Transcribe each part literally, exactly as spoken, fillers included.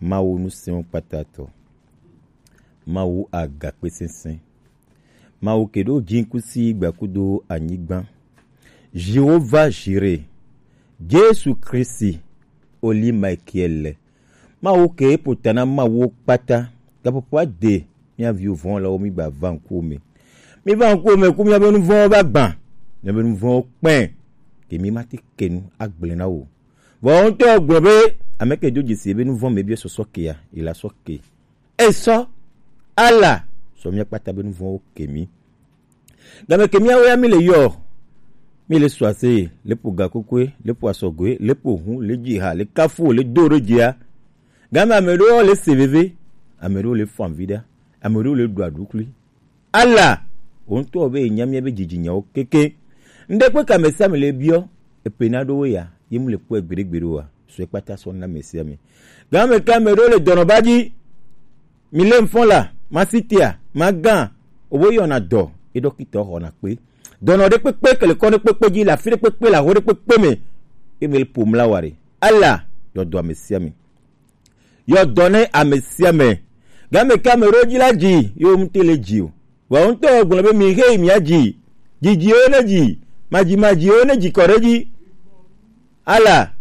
Mawu nusɛnwo kpatatɔ, Mawu agakpe sɛnsɛn, Mawu ke ɖo jinkusi gbakudo anyigba, Jehova Jire, Jesu Kristi, oli Michael lɛ. Mawu ke ƒo ta na Mawu kpata, gaƒoƒo ade mía viwo vɔ̃ la wo mi gba va ŋkuwò me. Mi va ŋkuwò me ku míaƒe nu vɔ̃wo va gbã, míaƒe nu vɔ̃wo kpɛ, ke mi mate ke nu agblẽ na wò. Vɔ ŋutɔ gblɔ be, ame ke do dzesi be nu vɔ̃ me bia sɔsɔ kea, ila sɔ ke. Esɔ, ala, sɔ mía kpata be nu vɔ̃wo ke mi. Game ke míawo ya mi le yɔ, mi le sɔ ase, le ƒo gakokoe, le ƒo asɔgoe, le ƒo hu, le dzi ha, le kafu, le do ɖe dzia. Game ame ɖewo le se veve, ame ɖewo le fɔ avi ɖa, ame ɖewo le ɖu aɖukli. Ala, wò ŋutɔ be enya mía be dzidzinyawo keke. Ŋɖe kpe ka ame sia ame le biɔ, epe na ɖo wo ya, ye mu le kpɔe gbeɖegbeɖe oa, sɔe kpata sɔ na ame sia ame. Game ke ame ɖewo le dɔnɔba dzi, mi le mfɔn la, masitia, magã, owo yɔna dɔ, ye ɖɔkitɔ xɔna kpe. Dɔnɔ ɖe kpekpe ke le kɔ ɖe kpekpe dzi, le afi ɖe kpekpe, le aho ɖe kpekpe me, ye me le ƒom la wa ɖe. Ala, yɔ dɔ ame sia ame. Yɔ dɔ ne ame sia ame. Game ke ame ɖewo dzi la dzi, yewo ŋute le dzi o. Vɔ ŋutɔ gblɔ be mi xe yi mia dzi. Dzidziwo ne dzi, madzimadziwo ne dzi kɔ ɖe dzi. Ala,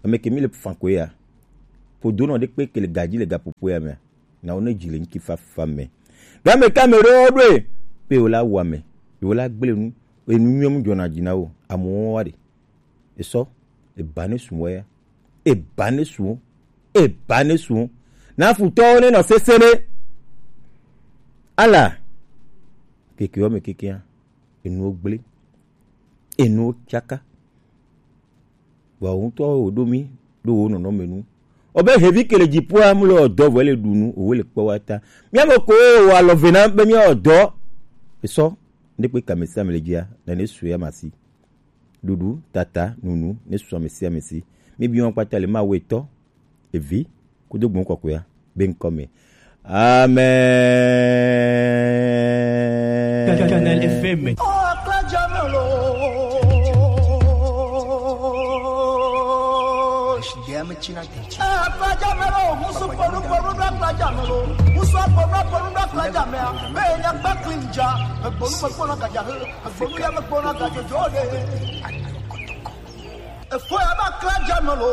ame ke mi le fan koe ya. Ƒodo nɔ ɖe kpe ke le gadzi le gaƒoƒo ya mea, na wo ne dzi le ŋki fafa me. Game ke ame ɖewo ɖoe, pe wo la wɔ ame, wo la gblẽ nu, enu nyuie mu dzɔna dzi na wo, amewo wa ɖe. Esɔ, eba ne sun wɔ ya. Eba ne sun, eba ne sun. Na futɔwo ne nɔ sese ne. Ala, kekewo me kekea, enuwo gblẽ, enuwo tsaka. Vɔ wò ŋutɔ wò ɖo mi ɖo wò nɔnɔme nu. Ɔbe hevi ke le dziƒoa mu le ɔdɔ vɔ le ɖu nu, wò le kpɔ wa ta. Mía me ko wò alɔ ve na be mía ɔdɔ. Esɔ, ne kpe kame sia me le dzia, na ne su ya masi. Ɖuɖu, tata, nunu, ne su ame sia ame si. Mi bi wɔn kpata le Mawu etɔ, evi, kudo gbɔn kɔkɔea be ŋkɔ me. Amen. Canal F M. Efo ya ba kla dza me lo.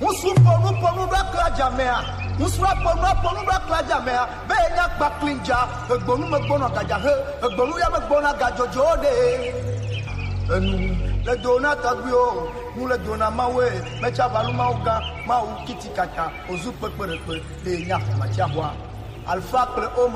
Ŋusu ponu ponu ɖo akla dza mea. Ŋusu ponu ponu ɖo akla dza mea. Be nya kpakpli dza. Egbonu me gbɔna gadza he. Egbonu ya me gbɔna gadzodzo ɖe. Enu le do na tɔgbuiwo. Nu le do na Mawu. Metsa valu Mawu gã. Mawu kiti kata. Ozu kpekpeɖekpe. Ɖe nya xɔmatsia xɔa. Alfa kple Omega.